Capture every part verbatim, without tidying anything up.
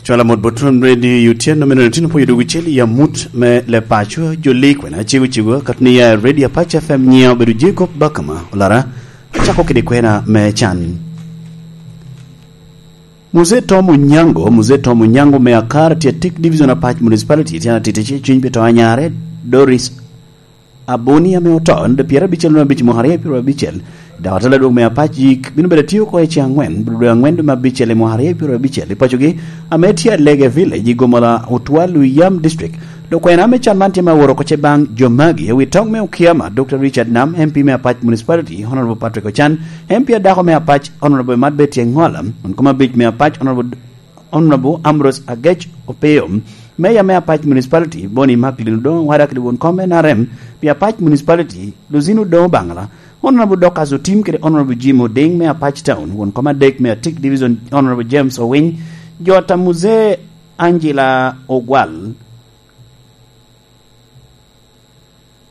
Cwala mot bot Ram Radio Utien, nome nino tino po yodo wicel i amut me le paco, jo lik wena cego cego, kat ni ya Radio Apache F M nyiya obedo Jacob Bakama, olara, acako kede kwena me can. Mzee Tom Onyango, Mzee Tom Onyango me Akar, tye Tik Division Apac Municipality, tye atiti ce cwiny pi to anyare, Doris Aboni ame oto, nino pyerabicel nome abic mwaka aryo pyerabicel, dok atela dwong me Apac yik bino bedo atio oko i ce angwen, bino dwe angwen dwe me abicel i mwaka aryo pyerabicel. I pacogi, ame tye Alege Village, i Gomola Otwal, Luyam District, lukwena me can man tye ma woro oko ce baŋ jo magi, i wi toŋ me Okiama, Doctor Richard Nam, M P me Apac Municipality, Honorable Patrick Ochan, M P adako me Apac, Honorable Mad Betty Engola, won kom abic me Apac, Honorable, Honorable Ambrose Agec Opio, Mayor me Apac Municipality, Boni Maklin Odongo, wada kede won kom N R M, pi Apac Municipality, Luzino Odongo Bangala, Honorable Dorcas Otim kede Honorable Jim Oding me Apac Town, won kom adek me Atik Division, Honorable James Owiny, Jota Mzee Angela Ogwal,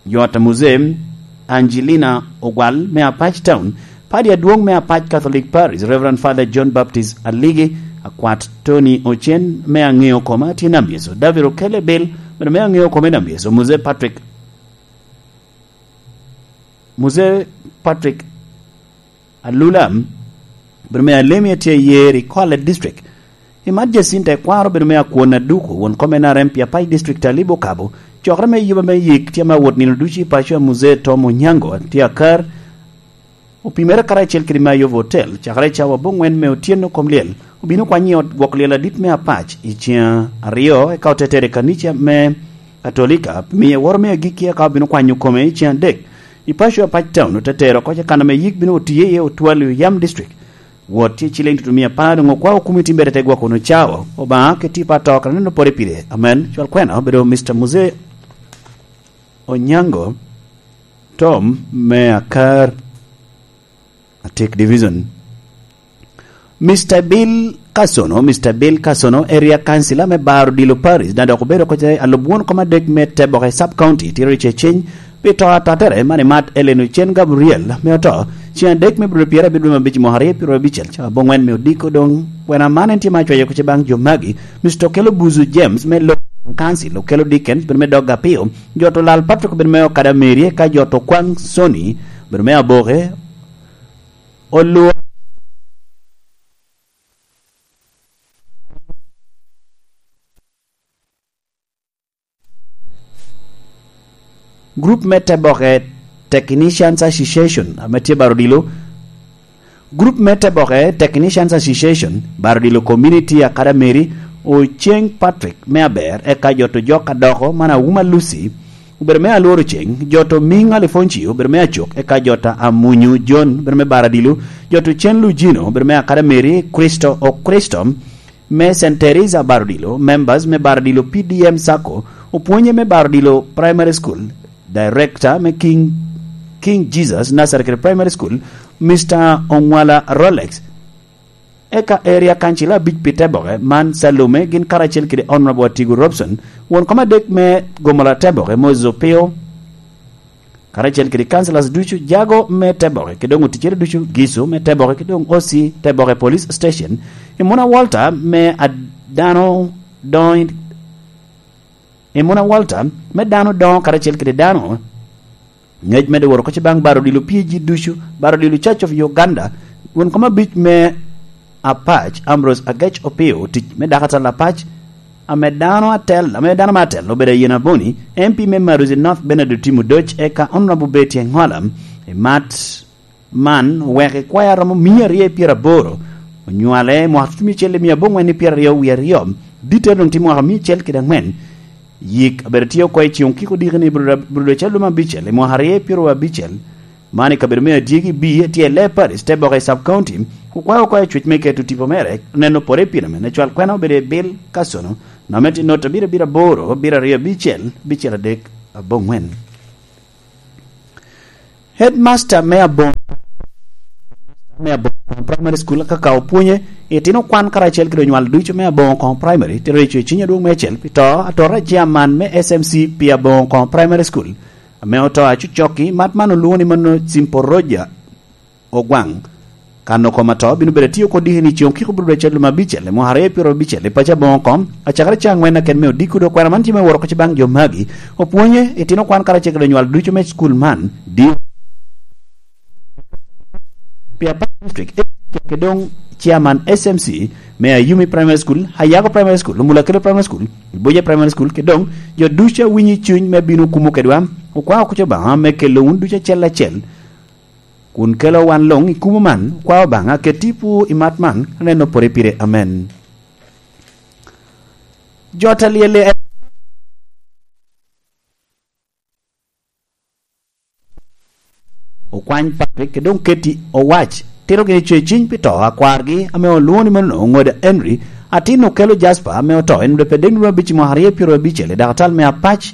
Jota Mzee Angelina Ogwal me Apac Town, Padi adwoŋ me Apac Catholic Parish, Reverend Father John Baptist Aligi, Akwat Tony Ocen me Aŋeo Koma tye nambyeco, David Okele Bill bene me Aŋeo Koma nambyeco, Mzee Patrick, Mzee Patrick Alula, bene me Alemi tye Yer i Kwale District. I mat Jacinta Ekwaro bene me Akwon Aduku, won kom N R M pi Apac District Alibo Kabo, cokere me yuba me yik tye ma wot nino ducu i paco a Mzee Tom Onyango tye Akar, opimere karacel kede me Ayova Hotel, cakere i cawa aboŋwen me otyeno kom lyel, obino kwanyo i ot gwok lyel adit me Apac i ceng aryo, eka otetere i kanica me Katolika, miye woro me agikki, eka obino kwanyo kome i ceng adek. I paco Apac Town, ote tero oko ce kan ame yik bino otiye iye otwal i Oyam District. Wot tye ciliŋ tutumia apar, doŋ okwao komiti bene te gwoko wunu cawa. Obaŋa keti pa to kara neno pore pire. Amen. Cwal kwena obedo Mister Mzee Onyango Tom me Akar, Atik Division. Mister Bill Kasono, Mister Bill Kasono, Area Councilor me Bar Odilo Parish, na dok obedo oko ce alub won kom adek me Teboke Sub County, tye riceceny pi to atatere man i mat Ellen Ocen Gabriel me oto, ceng adek me bro pyerabiro dwe me abic mwaka aryo pyerabicel, ca aboŋwen me odiko doŋ. Kwena man en tye ma acwayo oko ce baŋ jo magi, Mister Okelo Buzu James me Lo Council, Okelo Dickens, bene me Dog Apio, Jot Olal Patrick, bene me Okada Mary, eka Jot Okwang Sony, bene me Aboke, Olwo. Group me Teboke Technicians Association, ame tye Bar Odilo. Group me Teboke Technicians Association, Bar Odilo Community Academy, Oceng Patrick me Aber, eka Jot Ojok Adoko, man Awuma Lucy, obedo me Alworo Ceng, Jot Omiŋ Alifonci, obedo me Acuk, eka Jot Amunyu John, obedo me Bar Odilo, Jot Ocen Lujino, obedo me Academy, Kristo Okristo, me Saint Teresa Bar Odilo, members me Bar Odilo P D M Sacco, opwonye me Bar Odilo Primary School, director me King, King Jesus Nazareth Primary School, Mister Ongwala Rolex, eka area council abic pi Teboke, man Salome, gin karacel kede Honorable Atigo Robson, won kom adek me Gomola Teboke, Moses Opio, karacel kede councillors ducu, jago me Teboke, kede doŋ oticere ducu, Giso me Teboke, kede doŋ O C Teboke Police Station, Imuna Walter me a-, dano doŋ, Imuna Walter me dano doŋ karacel kede dano. Ŋec medde woro oko ce baŋ Bar Odilo P A G ducu, Bar Odilo Church of Uganda, won kom abic me Apac, Ambrose Agec Opio, tic me dakatal Apac, ame dano atel, ame dano me atel obedo Ayen Aboni, M P me Maruzi North Bernard Otim Odoc, eka Honorable Betty Engola, i mat man oweko i kwaya romo mia aryo i pyeraboro, onywale i mwaka tutumia acel i mia aboŋwen i pyeraryo wie aryo, ditte doŋ tye mwaka mia acel kede aŋwen. Yik abedo tye oko i ciŋ okiko diki ni Bruda, Bruda Calum abicel i mwaka aryo i pyeraryo abicel, man i kabedo me Adyegi B, tye i Lee Parish, Teboke Sub County, okwayo oko i cwec me keto tipo mere, neno pore i pino me cwal kwena obedo i Bill Kasono, nome tye not abiro abiro aboro, abiro aryo abicel, abicel adek, aboŋwen. Headmaster me Aboŋo, me Aboŋo Primary School, kaka opwonye, itino kwan karacel kede onywal ducu me Aboŋo Primary, tye reco i ciny adwoŋ me acel pi to, atora chairman me S M C pi Aboŋo Primary School, ame oto acucokki, mat man olwoŋo ni mano Simple Roger Ogwaŋ. Kano kom atɔ bino bedo atio kodi ni coŋ kiko bro bedo calo lum abicel, i mwaka aryo pyero abicel, i paco aboŋo kom, acakere ca aŋwen aken me odiko dok kwena man tye me woro kec baŋ jo magi. Opwonye, itino kwan karacel kede onywal ducu me cukul man, di pi Apac District, ke doŋ chairman S M C me Ayumi Primary School, Ayago Primary School, Mulakelo Primary School, Iboje Primary School, ke doŋ jo ducu a winyo i cuny me bino kumo kedwa, okwao kuc Obaŋa me kelo wun ducu acel acel, kun kelo wan luŋ i kumo man, okwao Obaŋa ket tipo i mat man, aneno pore pire. Amen. Jo ta lyelle Okwany Patrick, kede doŋ Katie Owac, tito gini co i ciny pi to a kwargi ame olwoŋo ni mano Oŋoda Henry, atin okelo Jasper ame oto, en obedo pe dek nino abic i mwaka aryo pyero abicel i dakatal me Apac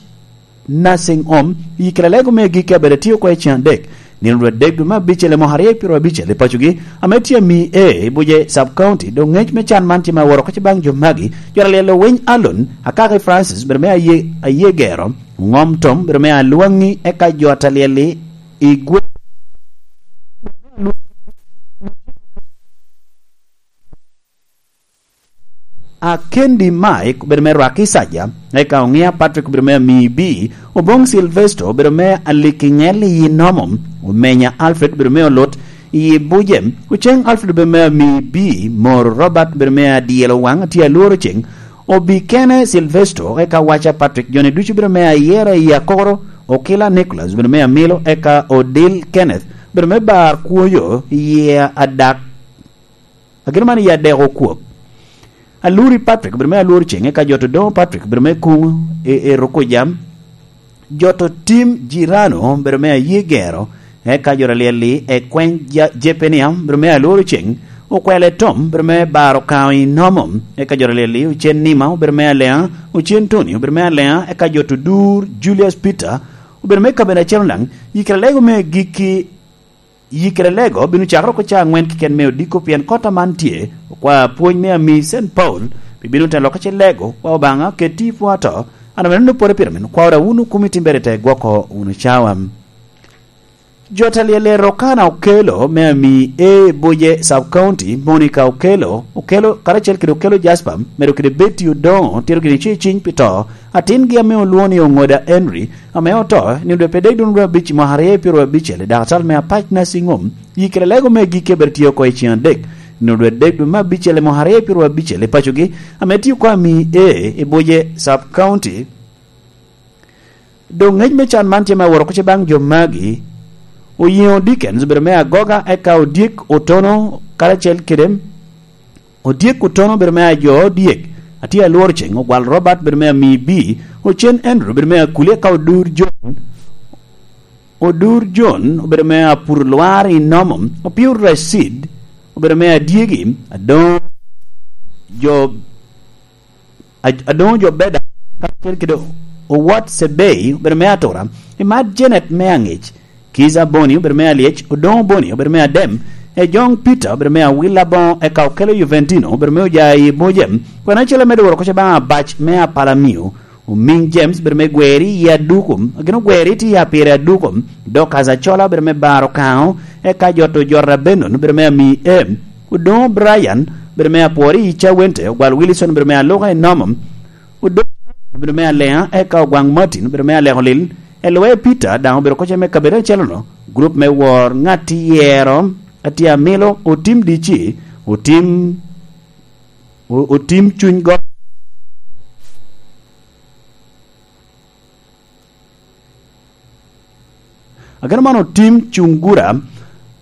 Nursing Home, i Kilalego me agikki abedo atio oko i cen adek, nino dwe adek dwe me abicel i mwaka aryo pyero abicel i pacogi, ame tye ami A i Buje Sub County, doŋ ŋec me can man tye ma woro oko baŋ jo magi, jo ta lyel Owiny Alon, Akaki Francis, bedo me aye, aye gero, Ŋom Tom, bedo me alwaŋi, eka jo ta lyel-li i gwe-, Akendi Mike, bedo me Rwaki Saja, eka Oŋia Patrick, bedo me Amibi, Oboŋ Silvesto, bedo me Alikiŋel i Nomo, Omenya Alfred, bedo me Olut i Buje, Oceŋ Alfred, bedo me Amibi, Moro Robert, bedo me Adyelo Waŋ, tye alworo ceŋ, Obikene Silvesto, eka Waca Patrick, joni ducu bedo me Ayera i Akoro, Okila Nicholas, bedo me Amilo, eka Odil Kenneth, bedo me Bar Kwoyo, i Adak, ageno man i Adek Okwok. Aluri Patrick, bedo me Alworo Ceŋ, eka Joto Doŋo Patrick, bedo me Kuŋo, i, i Rukuja, Joto Tim Jirano, bedo me Aye Gero, eka Joto Alyel-li, e Kweny Ja-, Jepenia, bedo me Alworo Ceŋ, Okwele Tom, bedo me Baro Kaŋo i Nomo, eka Joto Alyel-li, Ocen Nima, obedo me Aleŋa, Ocen Tony, obedo me Aleŋa, eka Joto Dur, Julius Peter, obedo me kabedo acel daŋ, i kare lego me gikki, i kare lego bino cakere oko ca aŋwen keken me odiko, pien kota man tye, okwa pwony me ami Saint Paul, pi bino te lokke ce lego, wa Obaŋa, keti i pwo ato, an ame nonno pwode pire min kwawra wunu kumi timbere te gwoko wunu cawa. Jo ta lyel Rokana Okelo, me ami A Buje Sub County, Monica Okelo, Okelo, karacel kede Okelo Jasper, medo kede Betty Odoŋo, tito gini ce ciny pi to, atingi ame olwoŋo ni Oŋoda Henry, ame oto, nino dwe pe dek dwe abic i mwaka aryo pyero abicel, i dakatal me Apac Nursing Home, i kare lego me gikki abedo tye oko i cen adek, nino dwe adek dwe me abicel i mwaka aryo pyero abicel i pacogi, ame tye oko ami A i Buje Sub County. Doŋ ŋec me can man tye me aworo kuc baŋ jo magi. Oyeŋo Dickens obedo me Agoga, eka Odyek Otono karacel kede Odyek Otono obedo me Ajo Odyek, atye alworo ceŋ, Ogwal Robert obedo me Amibi, Ocen Andrew obedo me Akuli, eka Odur John, Odur John obedo me Apur Lwar i Nomo, Opio Racid obedo me Adyegi, Adoŋo Jo A-, Adoŋo Jo Beda, karacel kede Owot Sebei, obedo me Atura, Imat Janet me Aŋic, Kiza Boni, obedo me Alyec, Odoŋo Boni, obedo me Adem, Ejoŋ Peter, obedo me Awil Aboŋo, eka Okelo Juventino, obedo me Ojayi Mojem, kwena acel amedo woro kuc baŋ Abac me Apalamio, Omiŋ James, obedo me Gweri i Aduku, agin Ogweri tye i Apire Aduku, Dorcas Acola, obedo me Baro Kaŋo, eka Joto Jota Benon, obedo me Ami Em, Odoŋo Brian, obedo me Apwori i Cawente, Ogwal Wilson, obedo me Aluka i Nomo, Odoŋo obedo me Aleŋa, eka Ogwaŋ Martin, obedo me Aleko Lil, Elwe Peter daŋ obedo kocce me kabedo acel-lo, gurup me wor ŋat iyero, atye amilo, otim dici, otim, o-, otim cuny go. Ageno man otim cungura,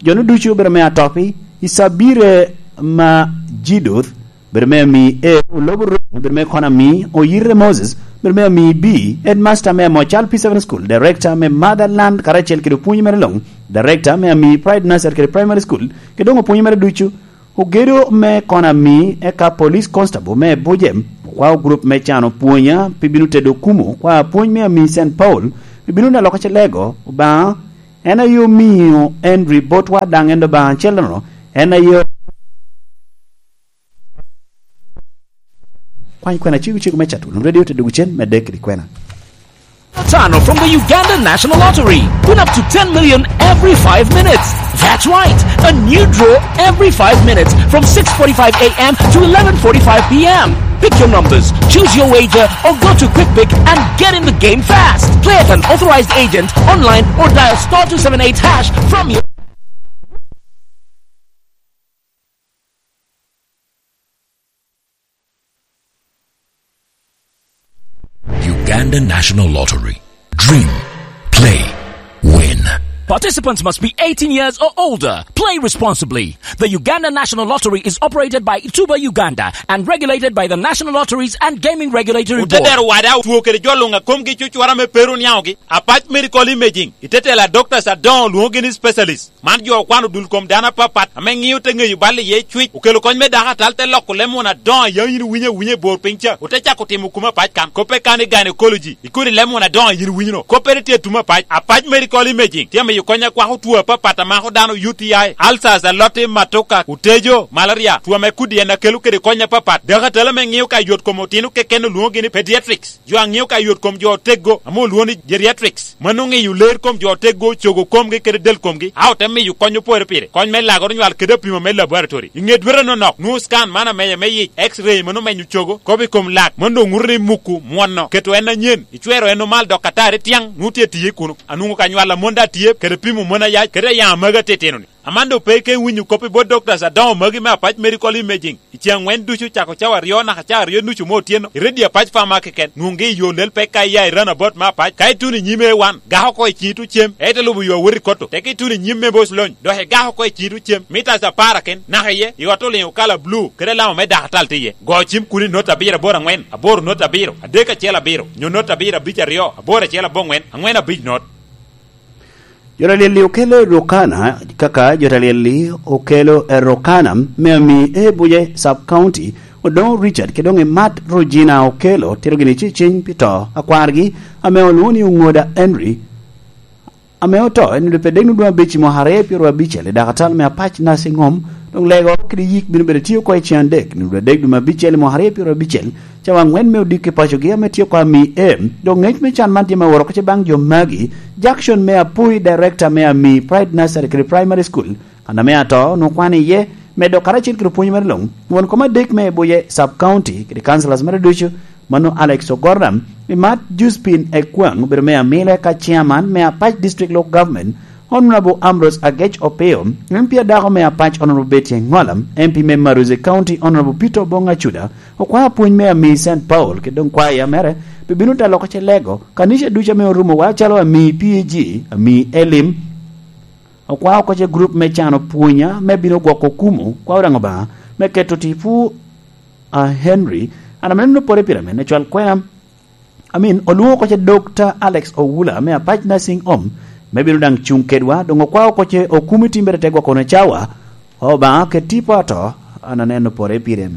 jo-nu ducu obedo me Atopi, i Cabire ma Jiduth, obedo me Ami E, Olobo Rony, obedo me Konami, Oyirre Moses, obedo me Ami B, Headmaster me Amocal P seven School, Director me Motherland, karacel kede opwonyi mere luŋ, Director me Ami Pride Nursery kede Primary School, kede doŋ opwonyi mere ducu, Ogedo me Konami, eka Police Constable me Buje, okwao gurup me cano pwonya pi bino tedo kumo, okwao pwony me Ami Saint Paul pi bino neno lok acel lego, Obaŋa, en aye omiyo Henry botwa, daŋ en Obaŋa acel-lono, en aye kwany kwena cego cego me cato wunu radio te dwogo cen, medde kede kwena. Tano from the Uganda National Lottery. Win up to ten million every five minutes. That's right, a new draw every five minutes from six forty-five a m to eleven forty-five p m. Pick your numbers, choose your wager, or go to Quick Pick and get in the game fast. Play at an authorized agent, online, or dial star two seven eight hash from your Uganda National Lottery. Dream, play, win. Participants must be eighteen years or older. Play responsibly. The Uganda National Lottery is operated by Tuba Uganda and regulated by the National Lotteries and Gaming Regulatory Board. Otedero wada otwo kede jo luŋ a komgi cucura me peru niaŋogi. Apac Medical Imaging, itetela doctors adoŋo lwoŋogi ni specialist. Man jo okwano dul kom dano apapat ame ŋio te ŋeyo bal iye cwic, okelo kony me dako atal, te loko leb muna adoŋo a yam yin iwinyo awinya i bor piny ca, ote cako timo kume apac kan. Koppe kan i gynecology, ikodi leb muna adoŋo a yin iwinyo no. Koppere tye tume apac. Apac Medical Imaging tye amiyo kony akwako two apapat a mako dano, U T I, ulcers, aloti, matoka, otejo, malaria, two ame kudi en akelo kede kony apapat. Dako atal ame ŋio ka yot kom otino keken olwoŋogi ni pediatrics. Jo a ŋeo ka yot kom jo oteggo ame olwoŋo ni geriatrics, mano ŋeyo ler kom jo oteggo, cogo komgi kede del komgi, a ote miyo kony opore pire. Kony me lagoro nywal kede apimo me laboratory. I ŋe dwete nonok, nwoŋo scan man ameya me yic, X-ray mano menyo cogo, kop i kom lak, mano doŋ ŋuto ni muku mwono, keto en anyen, icwero en omal dok atari tyaŋ, nwoŋo tye tiye kuno. Anwoŋo ka nywal a mon daŋ tye, kede pimo mon ayac, kede ayaŋ a magi atitino-ni. Amando pe ke winyo kop i bot doctors adoŋo magi me Apac Medical Imaging. I ce aŋwen ducu, cako cawa aryo naka cawa aryo nucu me otyeno, i redio Apac Pharmacy keken, nwoŋgi i yo lel pek ka iya i roundabout me Apac. Ka ituno i nyim A one, gak oko i ciŋi tuŋ cem, ite lubo yo awot i Kotto. Teke ituno i nyim me Boc Lony, dok igak oko i ciŋi tuŋ cem, mitas apar aken, naka iye, i ot oliŋo kala blue, kede alama me dakatal tye iye. Go cim kuno i not abiro aboro aŋwen, aboro not abiro, adek acel abiro, nyo not abiro abic aryo, aboro acel aboŋwen, aŋwen abic not. Jo ta lyel-li okelo Rukana, kaka jo ta lyel-li okelo Rukana me ami e Buje Sub County, Odongo Richard, kede doŋ i Mat Regina okelo, tito gini ciciny pi to a kwargi, ame olwoŋo ni Oŋoda Henry, ame oto i nino adek nwoŋo dwe abicel mwaka aryo pyero abicel, i dakatal me Apac Nursing Home, doŋ lego kede yik bino bedo tye oko i cen adek, nwoŋo dwe adek dwe me abicel i mwaka aryo pyero abicel, cawa aŋwen me odiko i pacogi ame tye oko ami e. Doŋ ngec me can man tye me woro oko ce baŋ jo magi. Jackson me Apui, director me ami Pride Nursery kede Primary School, kan ame ato onwoŋo kwano iye, medo karacel kede opwony mere luŋ. Won kom adek me Buje Sub County kede councillors mere ducu, mano Alex Ogorna, i Mat Josephine Ekwaŋ obedo me Amile ka chairman me Apac District Local Government, Honorable Ambrose Agec Opio, M P adako me Apac Honorable Betty Engola, M P me Maruzi County Honorable Peter Obong Acuda, okwao apwony me ami Saint Paul, kede doŋ kwaya mere, pe bino te loko ce lego, kanica ducu ame orumo wa calo ami P A G, ami Elim, okwao oko ce group me cano pwonya, me bino gwoko kumo, kwao daŋ Obaŋa, me keto tipo a Henry, an ame neno pore pire ame ne cwal kwena, Amin, olwoŋo oko ce Doctor Alex Owula me Apac Nursing Home, me bino daŋ cuŋ kedwa, doŋ okwao oko ce okumi timbere te gwoko wunu cawa, Obaŋa ket tipo ato, an aneno pore pire.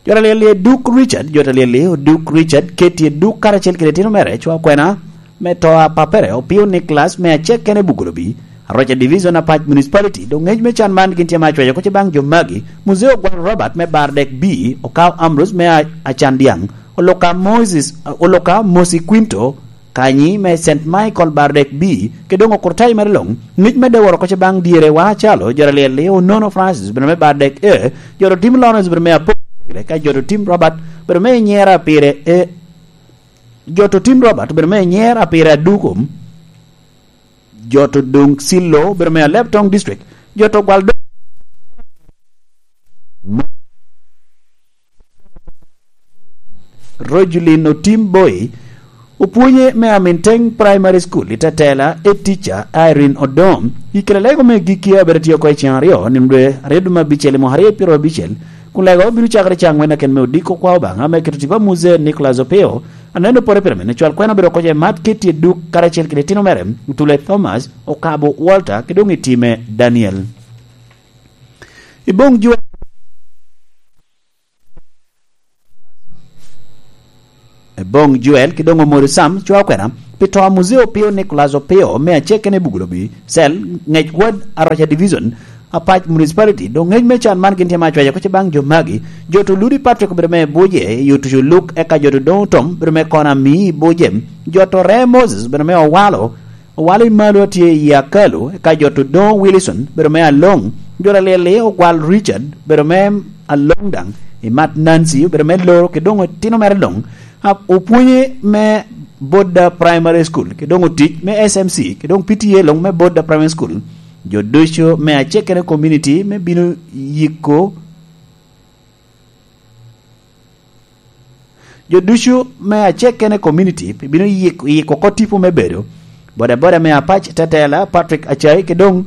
Jo ta lyel-li Duk Richard, jo ta lyel-li Duk Richard, Katie Duk karacel kede itino mere, cwa kwena, me to a papere, Opio Nicholas, me acek kene Bugolobi, Aroca Division, Apac Municipality, doŋ ngec me can man gin tye ma acwaco oko ce baŋ jo magi, Muzeo Gwal Robert me Bardek B, Okao Ambrose me A-, Acandiaŋ, Oloka Moses, Oloka Mosi Quinto, Kanyi me Saint Michael Bardek B, kede doŋ okurtayo mere luŋ, ngec medde woro oko ce baŋ dyere wa acalo, jo ta lyel-li Onono Francis, obedo me Bardek A, jo ta tim Lawrence obedo me Apo, ka jo ta tim Robert obedo me Nyera pire A, jo ta tim Robert obedo me Nyera pire Adukum, jo ta doŋ Silo obedo me Alebtong District, jo ta gwal do-, Rojulin Otim Boy, opwonye me Aminteng Primary School i Tetela, e tica Irene Odom, i kela lego me gikki a bere tye oko i ceng aryo, nino dwe aryo dwe me abicel i mwaka aryo pyero abicel, kun lego bino cakere ca angwen aken me odiko kwa Obaŋa me keto tipo a Muzee Nicholas Opio, aneno pore pire mene cwal kwena obedo oko ce Mat Katie Duk karacel kede itino mere, Otule Thomas, Okabo Walter, kede doŋ i time Daniel. I boŋ Juel, i boŋ Juel, kede doŋ Omoro Sam, cwa okwena, pi to a Muzee Opio Nicholas Opio, me acek kene i Bugolobi, cell, ngec ward, Aroca Division, Apac Municipality, doŋ ŋec me can man gin tye ma acwaco kocce baŋ jo magi. Jo to Ludi Patrick obedo me Buje, i otuco Luk, eka jo to Doŋ Tom obedo me Kona Mii Buje, jo to Ree Moses obedo me Owalo, Owalo i Malo atye i Akalu, eka jo to Doŋ Wilson obedo me Aloŋ, jo to Alyel-li Ogwal Richard obedo me Aloŋ daŋ, i Mat Nancy obedo me Loro, ki doŋ otino mere luŋ, a-, opwonye me Bodda Primary School, ki doŋ otic me S M C, ki doŋ P T A luŋ me Bodda Primary School. Jo ducu me acekere community me bino yiko, jo ducu me acekere community bino yik-, yiko oko tipo me bedo bodaboda me Apac Tetela Patrick Acai, ki doŋ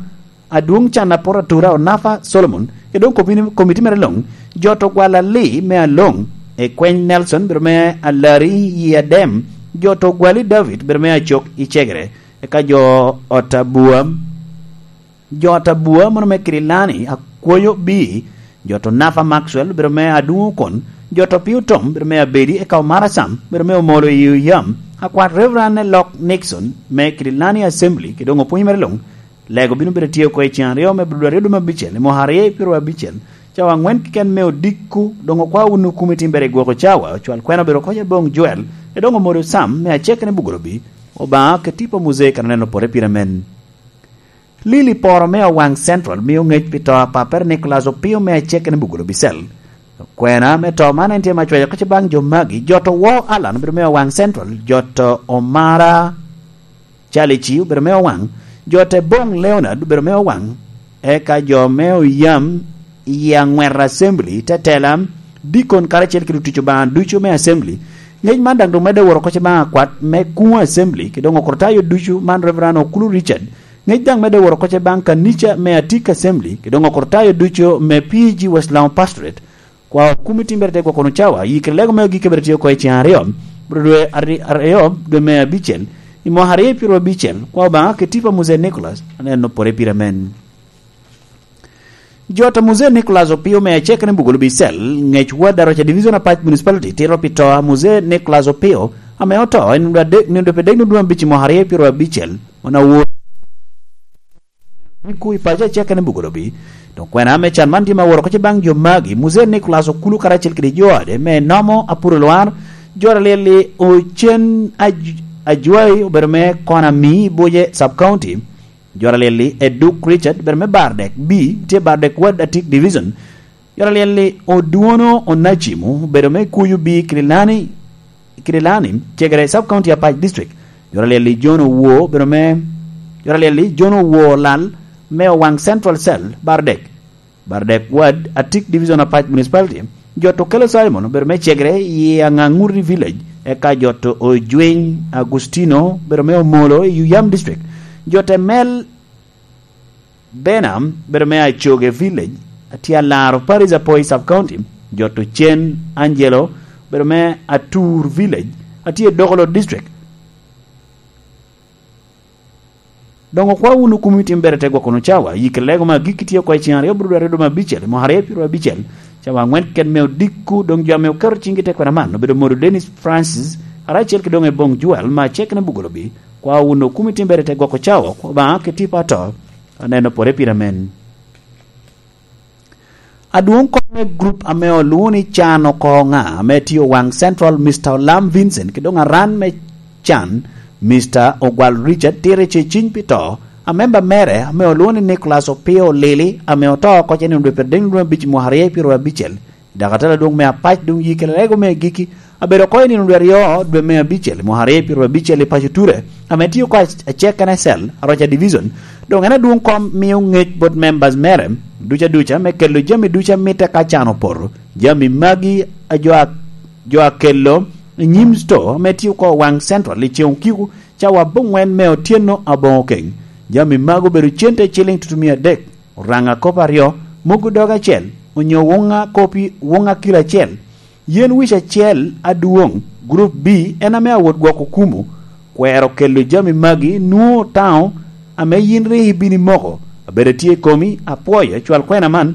adwoŋ can aporo atura Onafa Solomon, ki doŋ komiti, komiti mere luŋ, jo to Gwalali me Aloŋ, Ekweny Nelson bedo me Alari i Adem, jo to Gwali David bedo me Acok i Cegere, eka jo ot Abua, jo ot Abua mono me Kirilani Akwoyo Bi, jo to Nafa Maxwell bedo me Aduŋo Okon, jo to Pio Tom bedo me Abedi, eka Omara Sam bedo me Omolo i Oyam, akwat Reverend Lok Nixon me Kirilani Assembly, ki doŋ opwony mere luŋ. Lego bino bedo tye oko i cen aryo me Abdul aryo dum abicel, i mwaka aryo i pyero abicel, cawa angwen keken me odiko, doŋ okwa wunu kumi timbere i gwoko cawa, ocwal kwena obedo koc aboŋ Joel, e doŋ omodo Sam me acekere Bugolobi, Obaŋa ke tipo Muzee kan oneno pore pire men. Lili poro me Owaŋ Central mio ŋec pi to a papere Nicholas Opio me acekere Bugolobi Cell. Kwena me to man en tye ma cwayo kec baŋ jo magi, jo to Wo Alan obedo me Owaŋ Central, jo to Omara Calici obedo me Owaŋ, jo te Boŋ Leonard obedo me Owaŋ, eka jo me Oyam i Aŋwet Assembly, Tetela, Dikon karacel kede otic Obaŋa ducu me Assembly. Ŋec man daŋ doŋ medde woro kocce baŋ akwat me Kuŋo Assembly, ki doŋ okrutayo ducu man Reverend Okulu Richard. Ŋec daŋ medde woro kocce baŋ kanica me Atik Assembly, ki doŋ okrutayo ducu me P G West Lango Pastorate. Kwa okumi timbere te gwoko wunu cawa, yikere lego me agikki bene tye oko i cen aryo, bro dwe aryo, dwe me abicel, i mwaka aryo pyero abicel, kwa Obaŋa ke tipo a Muzee Nicholas, aneno pore pire men. Jo to Muzee Nicholas Opio me acekere Bugolobi Cell, ŋec wad Aroca Division Apac Municipality tito pi to a Muzee Nicholas Opio, ame oto i nino adek, nino dwe dek nino dwe abic i mwaka aryo pyero abicel, mono awor. Ku i paco acekere Bugolobi. Doŋ kwena me can man tye ma woro kocce baŋ jo magi, Muzee Nicholas Okulu karacel kede jo ade, me Nomo Apuro Lwar, jo Alyel-li Ocen Aj-, Ajwai obedo me Kona Mii Buje Sub County, jo Alyel-li Eduk Richard obedo me Bardek B, tye Bardek Ward Atik Division, jo Alyel-li Odwono Onacimo obedo me Kuyu B Kirilani, Kirilani, Cegere Sub County Apac District. Jo Alyel-li John Owo obedo me, jo Alyel-li John Owo Lal me Owaŋ Central Cell, Bardek, Bardek Ward, Atik Division Apac Municipality. Jo to Kelo Simon obedo me Cegere i Aŋaŋuti Village, eka jo to Ojwiny Agustino obedo me Omolo i Yuyam District. Jo te Mel Bena bedo me Acoge Village, atye alaro Paris Apoi Sub County, jo to Cen Angelo bedo me Atur Village, atye i Dokolo District. Doŋ okwa wunu kumi timbere te gwoko wunu cawa, yikere lego me agikki tye oko i cen aryo bro dwe aryo dwe me abicel, i mwaka aryo pyero abicel, cawa aŋwen keken me odiko, doŋ jo ame oketo ciŋgi te kwena man obedo modo Dennis Francis, karacel ki doŋ Ebong Joel, ma acekere Bugolobi, kwa wunu kumi timbere te gwoko cawa, kwa Obaŋa ke tipo ato, aneno pore pire men. Adwoŋ kom me grup ame olwoŋo ni Can Oko Ŋa ame tye Owaŋ Central, Mister Olam Vincent, ki doŋ aran me Can, Mister Ogwal Richard, tito i ceciny pi to, a memba mere ame olwoŋo ni Nicholas Opio Lili, ame oto oko cen i nino dwe pyeradek nino abic i mwaka aryo pyero abicel, i dakatala adwoŋ me Apac doŋ yikere lego me agikki, abedo oko i nino dwe aryo dwe me abicel i mwaka aryo pyero abicel i paco Ture, ame tio oko ac-, acekere Cell, Aroca Division. Doŋ en adwoŋ kom mio ŋec bot members mere duca duca me kelo jami duca mitte ka can opoto. Jami magi a jo a, jo akelo i nyim store ame tio oko Owaŋ Central i ceŋ okiko cawa aboŋwen me otyeno aboŋo keŋ. Jami magi obedo cente ciliŋ tutumia adek, oraŋa kop aryo, mogo dog acel, onyo wuŋa kopi, wuŋa kilo acel. Yen wic acel adwoŋ, Group B, en ame awot gwoko kumo, kwero kelo jami magi nwoŋo taŋo ame yin rik ibino imoko. Abedo tye i komi, apwoyo cwal kwena man.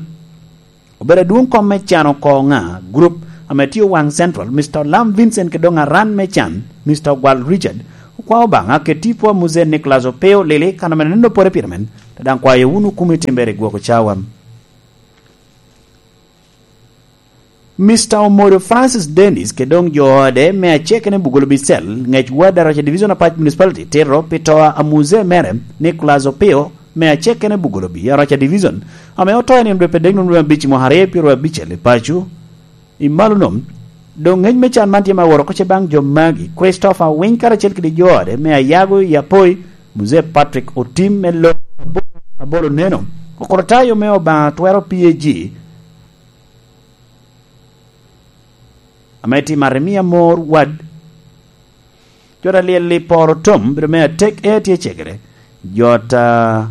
Obedo adwoŋ kom me Can Oko Ŋa, Group, ame tye Owaŋ Central, Mister Olam Vincent, ki doŋ aran me Can, Mister Ogwal Richard, okwao Obaŋa kede tipo a Muzee Nicholas Opio Lili, kan ame neno pore pire men, Te daŋ kwayo wunu kumi timbere i gwoko cawa. Mister Omodo Francis Dennis kede doŋ jo ode me acekene Bugolo Bicel, ŋec ward Aroca Division Apac Municipality, tito pi to a Muzee mere, Nicholas Opio, me acekene Bugolo Bi, Aroca Division, ame oto i nino dwe pedek num dwe abic i mwaka aryo pyero abicel i paco, i malo nom. Doŋ ŋec me can man tye ma woro oko ce baŋ jo magi, Christopher Winy karacel kede jo ode me Ayago i Apoi, Muzee Patrick Otim me lo Abolo Neno, Okuratayo me Obaŋa Twero P A G, ame tye i Marimia Mor Ward, jo ta lyel i Poro Tom, bedo me atek e tye cegere, jo ta,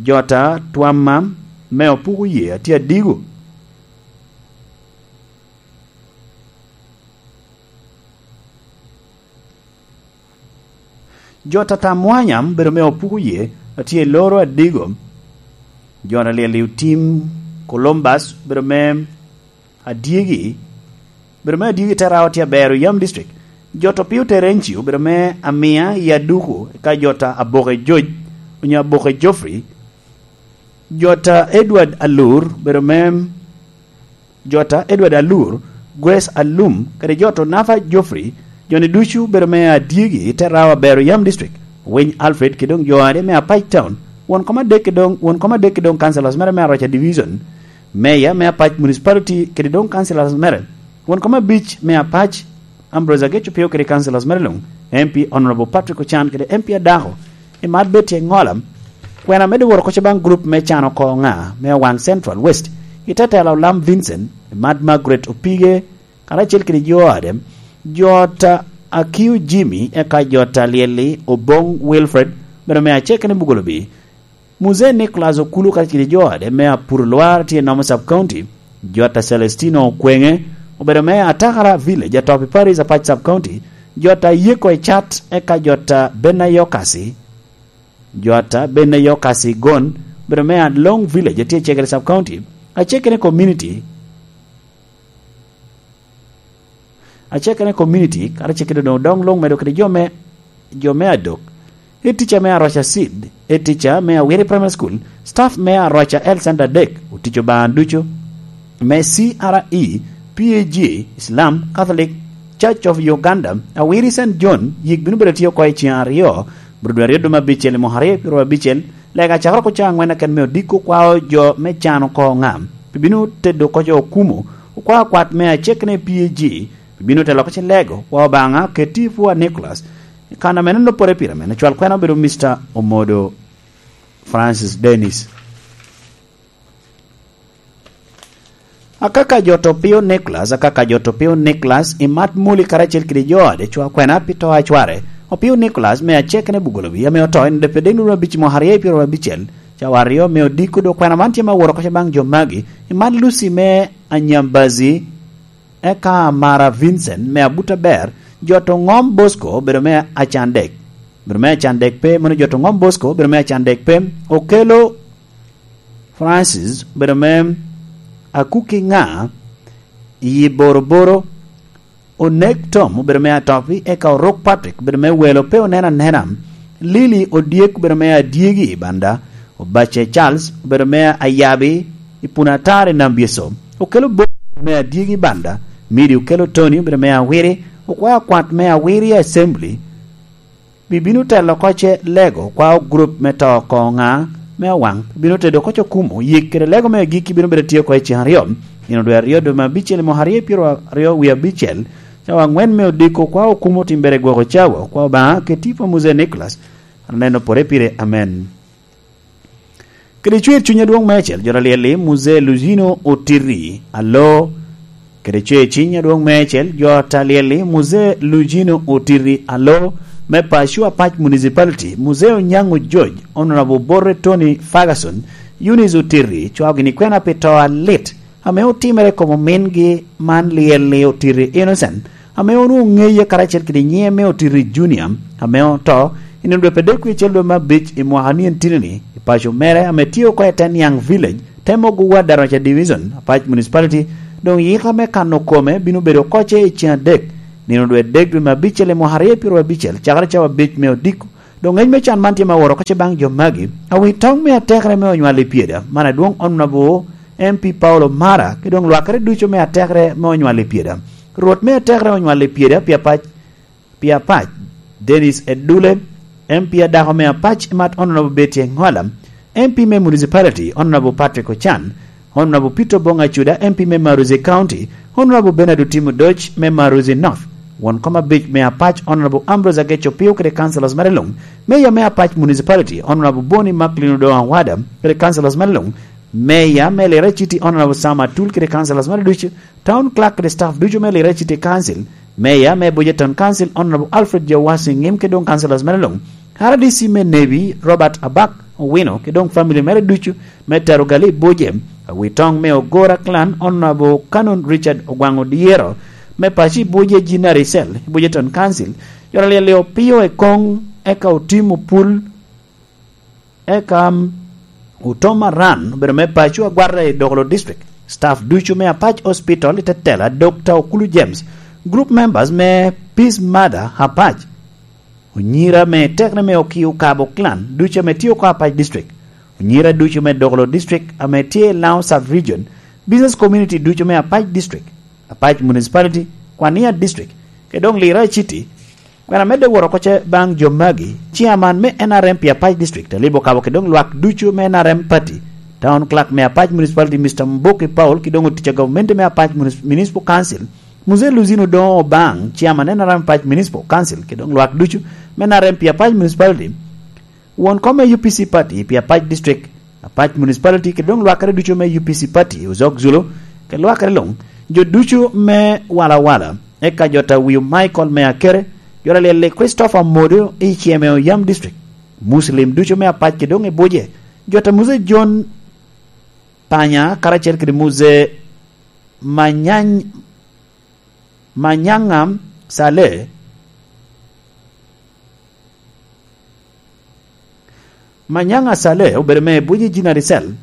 jo ta twamma me Opuko Ye atye adigo. Jo tata mwanya bedo me Opuko Ye atye i loro adigo. Jo ta lyel i Otim Columbus bedo me adyegi, bedo me adyegi te rawo tye aber i Yam District. Jo to Pio Terencio bedo me Amia i Aduku, eka jo ta Aboke Joj, onyo Aboke Joffrey. Jo ta Edward Alur bedo me, jo ta Edward Alur, Grace Alum, kede jo to Nafa Joffrey, jo-ni ducu bedo me adyegi i te rawo aber i Yam District, Winy Alfred, kede doŋ jo ade me Apac Town, won kom adek kede doŋ, won kom adek kede doŋ councillors mere me Aroca Division, Mayor me Apac Municipality kede doŋ councillors mere, won kom abic me Apac, Ambrose Ageco Pio kede councillors mere luŋ, M P Honorable Patrick Ochan kede M P Adako, i mat bed tye ŋola, kwena medde woro koca baŋ group me can oko ŋa me Awaŋ Central West, i te tela Olam Vincent, i mat Margaret Opige, karacel kede jo ade, jo ta Akiu Jimmy, eka jo ta Lyelli Oboŋ Wilfred, bedo me acekene Bugolobi, Muzee Nicholas Okulu karacel kede jo ade me Apuro Lwar tye i Nomo Sub County, jo ta Celestino Okwenge, obedo me Atakara Village, Atopi Parish, Apac Sub County, jo ta Yeko Ecat, eka jo ta Bena Yokasi, jo ta Bena Yokasi Gon, obedo me Along Village, tye i Cegere Sub County, acekene community, acekene community, karacel kede doŋ odoŋ luŋ medo kede jo me, jo me adok. Head teacher me Aroca Seed, head teacher me Awiri Primary School, staff me Aroca Health Center adek, otic Obaŋa ducu, me C R E, P A G, Islam, Catholic, Church of Uganda, Awiri Saint John, yik bino bedo tye oko i ceŋ aryo, bro dwe aryo dwe me abicel i mwaka aryo pyero abicel, lega cakere oko cawa aŋwen aken me odiko kwao jo me can oko ŋam, pi bino tedo oko jo okumo, okwao kwat me acekene P A G, pi bino telo oko ce lego, kwao Obaŋa, keti i pwoo a Nicholas, i kan a mene lopore pire mene, cwal kwena obedo Mister Omodo Francis Dennis. Akaka jo to Pio Nicholas, akaka jo to Pio Nicholas, i mat Muli karacel kede jo ade cwa kwena pi to a cware. Opio Nicholas me acekene Bugolobi, ame oto i nino dwe pedek num abic mwaka aryo pyero abicel, cawa aryo me odiko dok kwena man tye ma woro koca baŋ jo magi, i mat Lucy me Anyambazi, eka Mara Vincent me Abuta Ber, jo to Ŋom Bosco obedo me Acandek, obedo me Acandek pe, mano jo to Ŋom Bosco obedo me Acandek pe, Okelo Francis obedo me Akuki Ŋa, i Boroboro, Onek Tom obedo me Atopi, eka Orok Patrick obedo me Welo pe onen anena, Lili Odyek obedo me Adyegi i Banda, Obace Charles obedo me Ayabi i Punatar i Nambyeso, Okelo Bosco obedo me Adyegi i Banda, Midi Okelo Tony obedo me Awiri, okwao kwat me Awiri Assembly, pi bino telo oko ce lego kwao gurup me to oko ŋa me Awaŋ, pi bino tedo oko ce okumo, yik kede lego me agikki bino bedo tye oko i ceŋ aryo, nino dwe aryo dwe me abicel i mwaka aryo pyero aryo wie abicel, cawa aŋwen me odiko kwao okumo timbere gwoko cawa, kwao Obaŋa keti i pwoo Muzee Nicholas, aneno pore pire, amen. Kede cwer cuny adwoŋ meicel, jo ta Lyelli, Muzee Lujino Otiri Alo, kede cwer cuny adwoŋ meicel, jo ta Lyelli, Muzee Lujino Otiri Alo, me Paco Apac Municipality, Muzee Onyango George, Honorable Borre Tony Ferguson, Eunice Otiri, cwao gini kwena pi to alit, ame otimere i kom omingi man Lyelli Otiri Innocent, ame onwoŋo ŋeye karacel kede nyiŋe me Otiri Junior, ame oto i nino dwe pedek wie acel dwe me abic i mwaka nyen tini-ni, i paco mere ame tye oko i te Niaŋ Village, te mogo ward Aroca Division, Apac Municipality, doŋ yika me kano kome bino bedo oko ce i ceŋ adek, nino dwe adek dwe me abicel i mwaka aryo pyero abicel, cakere cawa abic me odiko, Doŋ ŋec me can man tye ma woro oko ce baŋ jo magi. Awi toŋ me atekere me onywal i pyeda, man adwoŋ Honorable M P Paulo Mara, ki doŋ lwakere ducu me atekere me onywal i pyeda. Rwot me atekere onywal i pyeda pi apac, pi apac, Dennis Edule, M P adako me apac, Mat Honorable Betty Engola, M P me Municipality, Honorable Patrick Ochan, Honorable Peter Obong Acuda, M P me Maruzi County, Honorable Bernard Otim Odoc me Maruzi North, won kom abic me apac, Honorable Ambrose Ageco Pio kede councillors mere luŋ, Mayor me apac Municipality, Honorable Boni Macklin Odongo Awada kede councillors mere luŋ, Mayor me Lira City, Honorable Sam Atul kede councillors mere ducu, Town Clerk kede staff ducu me Lira City Council, Mayor me Buja Town Council, Honorable Alfred Jawasi Ngim kede doŋ councillors mere luŋ, R D C me Nebi, Robert Abak Owino, kede doŋ family mere ducu, me Tarugali Buje, awi toŋ me Ogora Clan, Honorable Canon Richard Ogwaŋ Odyero, me paco i Buje Jinari Cell, i Buje Town Council, joro lyel i Opio Ekoŋ, eka Otim Opul, eka, um, Otoma Ran, obedo me paco agwata i Dokolo District. Staff ducu me Apac Hospital i Tetela, Doctor Okulu James, group members me Peace Mother Apac, onyira me tekne me Okio Kabo Clan ducu ame tye oko Apac District, onyira ducu me Dokolo District ame tye i Lango Sub Region, business community ducu me Apac District, Apac Municipality, Kwania District, kede doŋ Lira City. Kwena medde woro oko ce baŋ jo magi, chairman me N R M pi Apac District, Alibo Kabo kede doŋ lwak ducu me N R M Party, Town Clerk me Apac Municipality, Mister Mboki Paul, kede doŋ otic a gavumenti me Apac Munis-, Municipal Council, Mzee Luzino Odongo Obaŋ, chairman N R M Apac Municipal Council, kede doŋ lwak ducu me N R M pi Apac Municipality, won kom me U P C Party pi Apac District, Apac Municipality, kede doŋ lwakere ducu me U P C Party, Ozok Zulu, kede lwakere luŋ, jo ducu me Wala Wala, eka jo ta Wiu Michael me Akere, jo ta Lyelli Christopher Modo i Ceme Oyam District, Muslim ducu me Apac kede doŋ i Buje, jo ta Mzee John Panya, karacel kede Mzee Manyany-, Manyanga Saleh, Manyanga Saleh obedo me Buje Jinari Cell,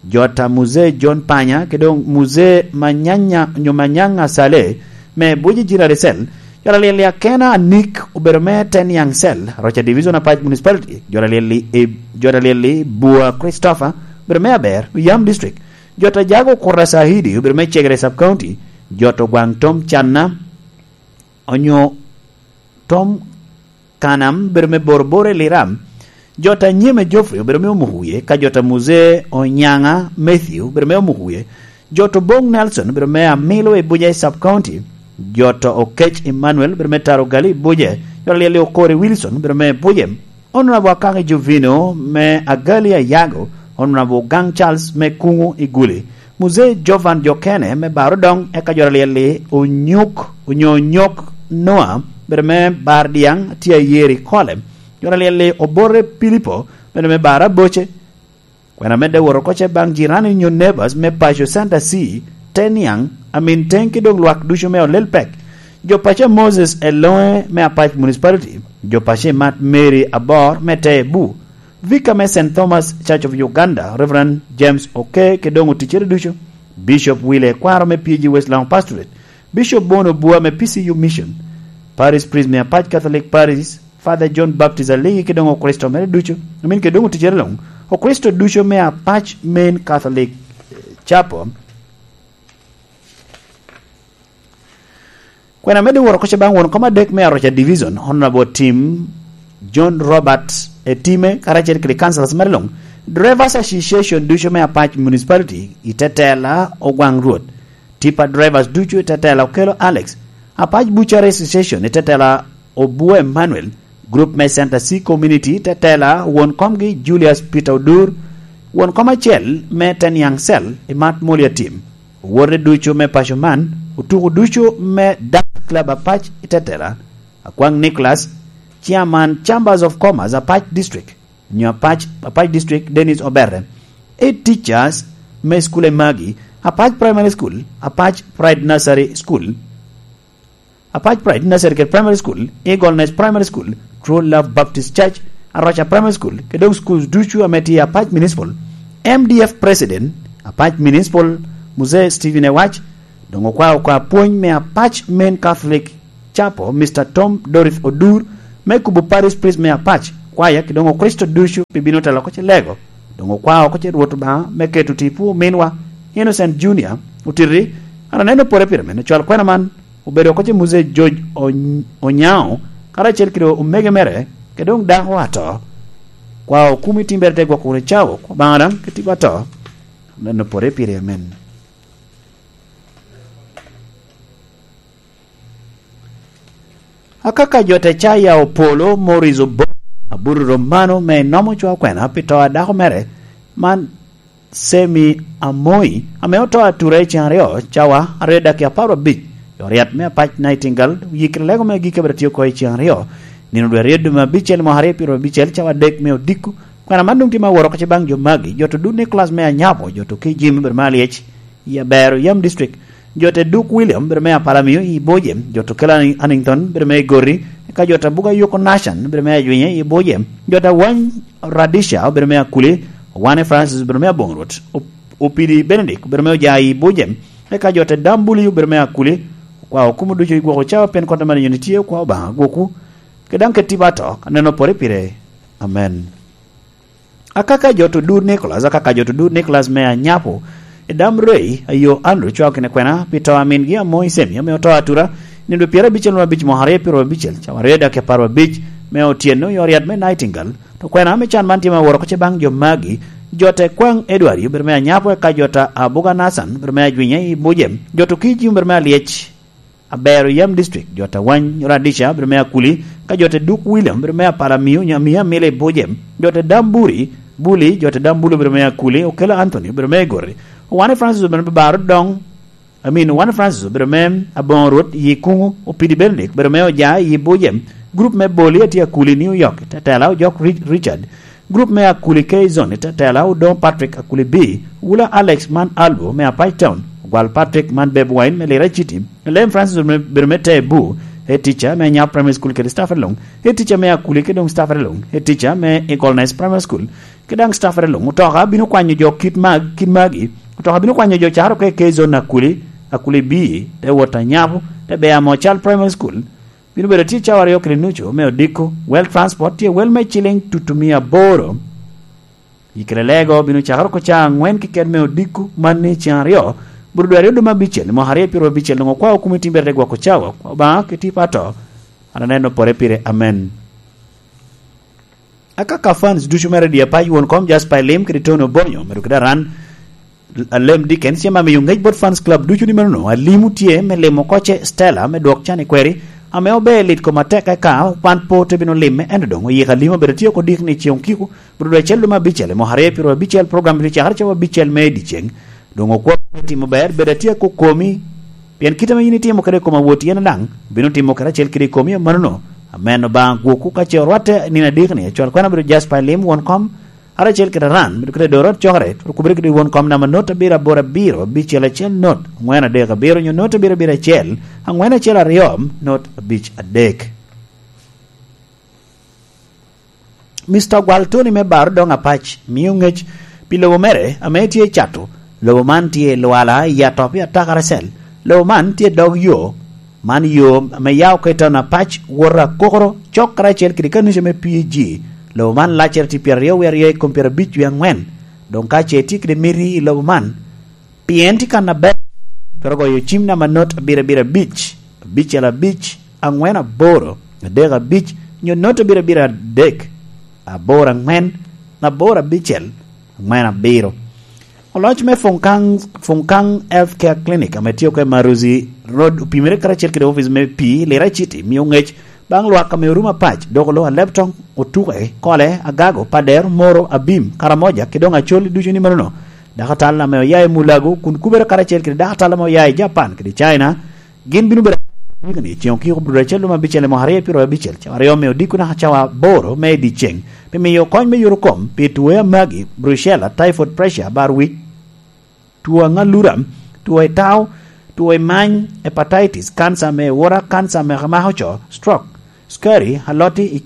jo ta Mzee John Panya, kede doŋ Mzee Manyanya, nyo Manyanga Saleh, me Buje Jinari Cell, jo ta Lyelli Akena Anik obedo me Teniang Cell, Roca Division Apac Municipality, jo ta Lyelli, eh, jo ta Lyelli Bua Christopher obedo me Aber, Oyam District, jo ta Jago Kura Sahidi obedo me Cegere Sub County, jo ta Ogwaŋ Tom Canna, onyo Tom Kanam obedo me Boroboro i Liram, jo ta Nyeme Geoffrey obedo me Omukuye, ka jo ta Mzee Onyanga Matthew obedo me Omukuye, jo ta Obong Nelson obedo me Amilo i Buje Sub County, jo ta Okec Emmanuel obedo me Tarugali i Buje, jo ta Lyelli Okori Wilson obedo me Buje, Honorable Akaki Jovino me Agali Ayago, Honorable Gang Charles me Kungu i Guli, Mzee Jovan Jokene me Barodoŋ, eka jo ta Lyelli Onyuk, onyo Onyok Noah, bedo me Bar Diaŋ, tye Ayeri Kole. Jo ta Lyelli Obote Pilipo, bedo me Bar Aboce. Kwena medde woro oko ce baŋ jirani nyo neighbors me paco Center C, Teniang, Amin Teŋ ki doŋ lwak ducu me Olel Pek. Jo paco Moses Eloŋe me Apac Municipality. Jo paco Imat Mary Abor me Tebu. Vicar me Saint Thomas Church of Uganda, Reverend James Oke, kede doŋ oticcere ducu, Bishop Wile Kwaro me P G West Lango Pastorate, Bishop Bono Bua me P C U Mission, Parish Priest me Apac Catholic Parish, Father John Baptist Aligi, kede doŋ Okricito mere ducu, I mean, kede doŋ oticcere luŋ, Okricito ducu me Apac Main Catholic, eh, Chapel. Kwena medde woro oko ce baŋ won kom adek me Aroca Division, Honorable Tim John Robert Etime, karacel kede councillors mere luŋ, Drivers Association ducu me Apac Municipality, i tetela Ogwaŋ Rwot, Tipper Drivers ducu i tetela Okello Alex, Apac Butchery Association i tetela Obwo Emmanuel, group me Center C Community i tetela won komgi Julius Peter Odur, won kom acel me Teniang Cell i Mat Moli Atim. Owote ducu me paco man, otuko ducu me Dance Club Apac i tetela, Akwaŋ Nicholas, Chairman Chambers of Commerce Apac District, nyo Apac, Apac District, Dennis Obere, head teachers me school e magi, Apac Primary School, Apac Pride Nursery School, Apac Pride Nursery kede Primary School, Eagle Nest Primary School, True Love Baptist Church, Aroca Primary School, kede doŋ schools ducu ame tye i Apac Municipal, M D F President, Apac Municipal, Mzee Stephen Ewac, doŋ okwao oko apwony me Apac Main Catholic Chapel, Mister Tom Dorith Odur, me kubo Parish Priest me Apac, Kwaya kede doŋ Okricito ducu pi bino telo oko ce lego, doŋ okwao oko ce Rwot Obaŋa me keto tipo ominwa Innocent Junior otiti. An aneno pore pire mene cwal kwena man obedo oko ce Muzee George Ony-, Onyango, karacel kede omege mere, kede doŋ dako ato. Kwa okumi timbere te gwoko wunu cawo, kwa Obaŋa daŋ keti ato. Aneno pore pire, amen. Akaka jo te caya Opolo, Morris Obo, Aburu Romano, me nomo cwa kwena pi to a dako mere, man Semi Amoi, ame oto atura i cen aryo, cawa aryo dakika apar abic, i oryat me apac Nightingale, oyikere lego me gik abira tye oko i cen aryo, nino dwe aryo dwe me abicel mwaka aryo pyero abicel, cawa adek me odiko. Kwena man doŋ tye ma woro oko ce baŋ jo magi, jo to Dud Nicholas me Anyapo, jo to Kijim, bedo me Alyec, i Abero, Yam District, jo te Duk William, bedo me Apalamio, i Bojem, jo to Kela Anington, bedo me Igori, eka jo te Buga Yoko Nashan, bedo me Ajwinye, i Bojem, jo te Wany Radisha, bedo me Akuli, Wane Francis, bedo me Aboŋrot, Op-, Opidi Benedict, bedo me Oja, i Bojem, eka jo te Dambuli, bedo me Akuli, kwa okumo ducu i gwoko cawa pien kota mani nyoni tye, kwa Obaŋa gwokwu, ke daŋ keti ba to, aneno pore pire. Amen. Akaka jo to Dud Nicholas, akaka jo to Dud Nicholas me Anyapo, i dam Rei, ayo Andrew cwao kine kwena, pi to a mingi Amoi Semi, ame oto atura, nino dwe pyero abicel wunu abic mwaka aryo pyero abicel, cawa aryo dakika apar abic, me otyeno, i oryat me Nightingale, to kwena ame can man tye ma woro oko ce baŋ jo magi, jo te Kwaŋ Edward, obedo me Anyapo, eka jo ta Abuga Nathan, obedo me Ajwinye, i Bujem, jo to Kijim, obedo me Alyec, Abero Yam District, jo ta Wany Radisha, obedo me Akuli, ka jo ta Duk William, obedo me Apalamio, Amio Amilo i Bujem, jo ta Damburi, Buli, jo ta Dambulu, obedo me Akuli, Okelo Anthony, obedo me Igori, Owane Francis, obedo me Baro Dong, I mean, Owane Francis, obedo me Aboŋo Rwot, i Kuŋu, Opidi Benedict, obedo me Oja, i Bujem, group me Boli, atye Akuli, New York, Tetela, Ojok Ri-, Richard, group me Akuli K Zone, Tetela, Odong Patrick, Akuli B, Wula Alex man Albo me Apac Town, Ogwal Patrick man Beb Wine me Lira City, Lem Francis obedo me, obedo me Tebu, head teacher me Nyap Primary School kede staff along, head teacher me Akuli kede doŋ staff along, head teacher me Eagleness Primary School, kede daŋ staff along. Otoka bino kwanyo jo kit mag-, kit magi. Otoka bino kwanyo jo caro ka i K Zone Akuli, Akuli B, te wot Anyapo, te Bea Mocal Primary School, bino bedo tye cawa aryo kede nucu me odiko. Well transport tye well me ciling tutu mia aboro. I kede lego bino cakere oko ca aŋwen keken me odiko, man ni ceŋ aryo, bur dwe aryo dwe me abicel, mwaka aryo pyero abicel, doŋ okwao kumi timbere te gwoko cawa, Obaŋa keti pato, an aneno pore pire, amen. Akaka fans ducu me Radio Apac, won kom Jasper Elim kede Tony Obonyo, medo kede aran, Alem Dickens, yam amiyo ŋec bot fans club ducu ni manono, Alim otye me limo koce Stella me dwok can i kweri, ame ober lit koma tek eka wan po te bino lime, ento doŋ oyiko Alim obedo tye oko dik ni ceŋ okiko, bro dwe acel dwe me abicel, i mwaka aryo pyero abicel, program bino cakere cawa abicel me dyeceŋ, doŋ okwo me timo ber, bedo atye kokomi, pien kit ame yin itimo kede i kom awot yen daŋ, bino timo kede acel kede i komi, amannono, amen Obaŋa gwokwu ka ce orwatte nino adek ni, acwal kwena bedo Jasper Elim, won kom, Aracel kede aran, medo kede doro cokere, okubere kede won kom namba not abiro aboro abiro, abicel acel not, angwen adek abiro, nyo not abiro abiro acel, angwen acel aryo, not abic adek. Mister Gwal Tony me Baro Doŋ Apac mio ŋec pi lobo mere ame tye i cato. Lobo man tye i Lwala i Atop i Atakaracel. Lobo man tye i dog yo. Man yo ame yao ka i town Apac, wot Akokoro, cok karacel kede kanica me P G. Lobo man laccere tye pyeraryo wie aryo i kom pyerabic wie angwen. Doŋ ka ce itye kede miti i lobo man, pien tye kan aber, twero goyo cim namba not abiro abiro abic, abicel abic, angwen aboro, adek abic, nyo not abiro abiro adek, aboro angwen, aboro abicel, angwen abiro. Oloc me Funkang, Funkang Health Care Clinic ame tye oko i Maruzi Road opimere karacel kede opic me pii Lira City mio ŋec baŋ lwak ame orumo apac, dok olo Alebtong, Otuke, Kole, Agago, Pader, Moro, Abim, Karamoja, ki doŋ Acholi ducu ni manono. Dako atal ame oya i Mulago kun kubere karacel kede dako atal ame oya i Japan kede China, gin bino bedo i ceŋ okiko bro acel lum abicel i mwaka aryo pyero abicel, cawa aryo me odiko naka cawa aboro me i dyeceŋ, pi miyo kony me yot kom pi tuo amagi, brucella, typhoid, pressure, bar wic, tuo aŋalura, tuo i tao, tuo i many, hepatitis, kanca me wora, kanca me mako co, stroke, sukari, aloti i,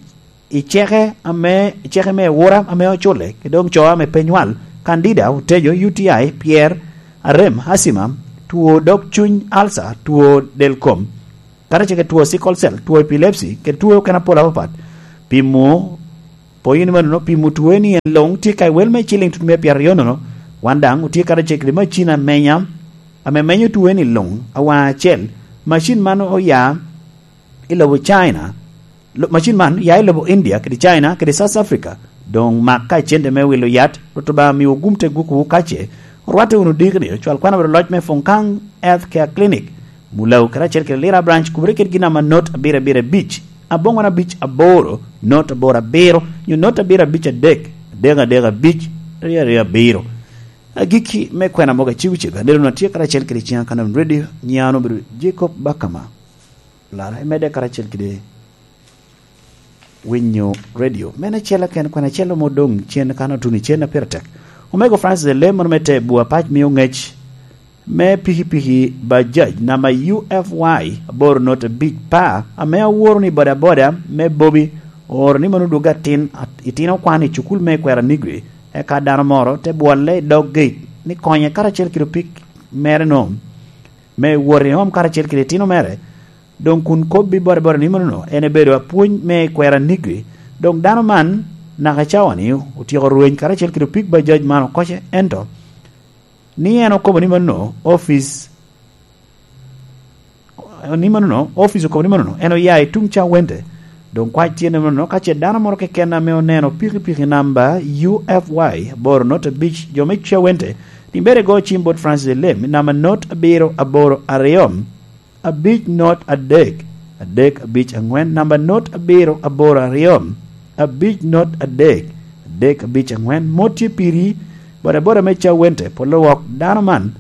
i ceke ame, i ceke me wora ame ocule, ki doŋ co ame pe nywal, candida, otejo, U T I, pyer, arem, asima, tuo dog cuny, alsa, tuo del kom, kadi ceke tuo sickle cell, tuo epilepsy, kede tuo okene apol apapat. Pimo Poyo ni manono, pimo tweni en luŋ tye ka i wel me ciliŋ tut mia pyeraryo nono. Wan daŋ otye karacel kede macin amenya, ame menyo tweni luŋ awaŋ acel. Macin man oya i lobo China. Lo-, macin man ya i lobo India, kede China, kede South Africa. Doŋ mak ka icente me wilo yat, Rwot Obaŋa miwu gum te gwokwu kace, orwatte wunu dikni, ocwal kwan abedo loc me Fongkang Health Care Clinic, Mulago karacel kede Lira Branch, kubere kede gin ama not abiro abiro abic, aboŋwen abic aboro, not aboro abiro, nyo not abiro abic adek, adek adek abic, aryo aryo abiro. Agikki me kwena mogo acego cego, aneno na tye karacel kede ciŋa Kanon Radio, nyiŋa obedo Jacob Bakama. Lara, imedde karacel kede winyo radio. Men acel aken kwena acel mo doŋ cen kan otuno i cen a pire tek. Omego Francis Elem, mono me te bua pac mio ŋec me pikipiki Bajaj namba U F Y aboro not abic pa, ame aworo ni bodaboda me Bobi ooro ni mano dwogge atin, at-, itino kwan i cukul me Kwera Nigri, eka dano moro te bwolle i dog gate ni konye karacel kede opik mere no me wot i home karacel kede itino mere. Doŋ kun kobbi bodaboda ni manono, en ebedo apwony me Kwera Nigri. Doŋ dano man naka cawa-ni otyeko rweny karacel kede opik Bajaj man okoce, ento ni en okobo ni manono, office, ni manono, office okobo ni manono, en oya i tuŋ Cawente. Doŋ kwac tye ni manono, ka ce dano moro keken ame oneno pikipiki namba U F Y aboro not abic jo me Cawente, ni bere go cim bot Francis Elem, namba not abiro aboro aryo, abic not adek, adek abic aŋwen, namba not abiro aboro aryo, abic not adek, adek abic aŋwen. Mot tye piri, bodaboda me Cawente, polo wok dano man,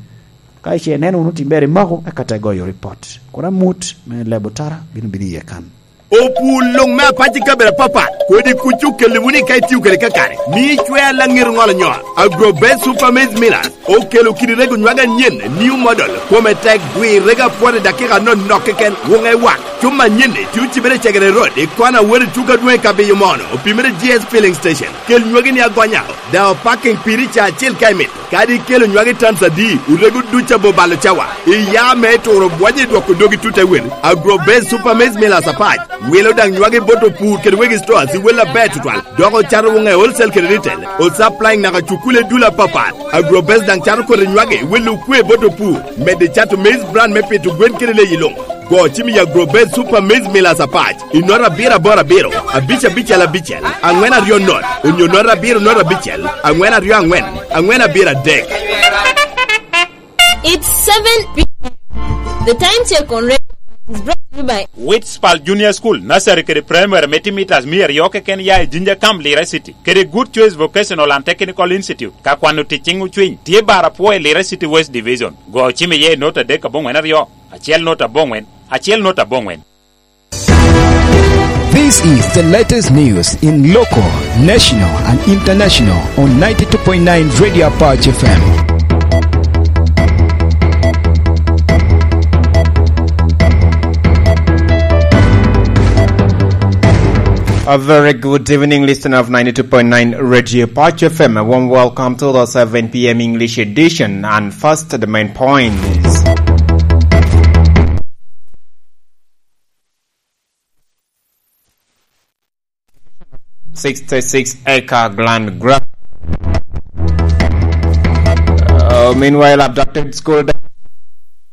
ka ice ineno wunu tim ber imako, eka te goyo ripot. Kun amut me lebo tara bino bino iye kan. Opur luŋ me apac i kabedo apapat, kodi kuc okelli wunu i ka itio kede kakare, mi icwer laŋet oŋolo nyol. Agrobest Super Maize Millers okelo kidi rego nywage anyen, new model, kome tek, gwir rego apwot i dakika anonok keken, wuŋe wak. Cuma anyen-ni tye ocibere i Cegere Road, i kona wot i tuko adwoŋ i Kabiyo Mono, opimere G S Filling Station. Kel nywagi ni agonya, daŋ opaking piri ca acel ka imito. Kadi ikelo nywagi tans adi, orego duc abo balo cawa. Iya me turo bwonyo i dwoko dogi tut te wel. Agrobest Super Maize Millers apac wilo daŋ nywagi bot opur kede wegi stores i wel aber tutwal. Dok ocato wuŋe wholesale kede retail. Osupplying naka cukule dul apapat. Agrobest daŋ cato kodi nywagi wilo okwe bot opur. Medde cato maize bran me pito gwen kede leyi luŋ. Go cim i Agrobest Super Maize Millers apac i nota abiro aboro abiro, abic abicel abicel, aŋwen aryo not, onyo nota abiro not abicel, aŋwen aryo aŋwen, aŋwen abiro adek. It's seven p.m. The time check on radio is brought to you by Witspal Junior School, Nursery kede Primary me timitas mia aryo keken ya i Jinja Camp, Lira City, kede Good Choice Vocational and Technical Institute, ka kwano tic ciŋ ocwiny, tye bar apwo i Lira City West Division. Go cim iye i nota adek aboŋwen aryo, acel nota aboŋwen, acel nota aboŋwen. This is the latest news in local, national, and international on ninety-two point nine Radio Apache F M. A very good evening, listener of ninety-two point nine Radio Apache F M. A warm welcome to the seven p.m. English edition. And first, the main points. Sixty-six acre land grab. Uh, meanwhile, abducted school